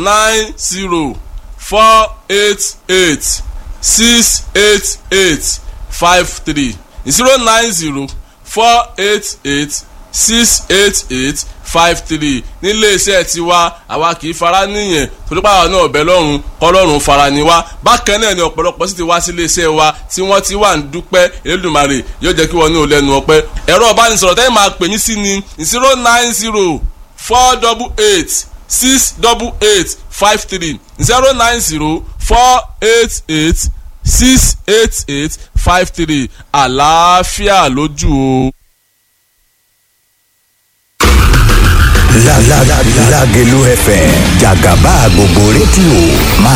090 488 688 53, 090 488 688 53. Nílé iṣẹ́ tiwa, àwa kì í fara níyẹn torí pàwọn náà ọ̀bẹ lọ́rùn kọ́lọ́run fara ni wá. Bákan náà ni ọ̀pọ̀lọpọ̀ sì ti wá sílé iṣẹ́ wa tí wọ́n ti wà ń dúpẹ́. Elédùmarè yóò jẹ́ kí wọ́n ní olẹ́nu ọpẹ́. Ẹ̀rọ ìbánisọ̀rọ̀ tẹ́yìn máa pè yín sí ni 090 488 688 53, 090 488 688 53. Àlàáfíà lójú o. Lágelú FM, jàgàbá gbogbo rédíò máa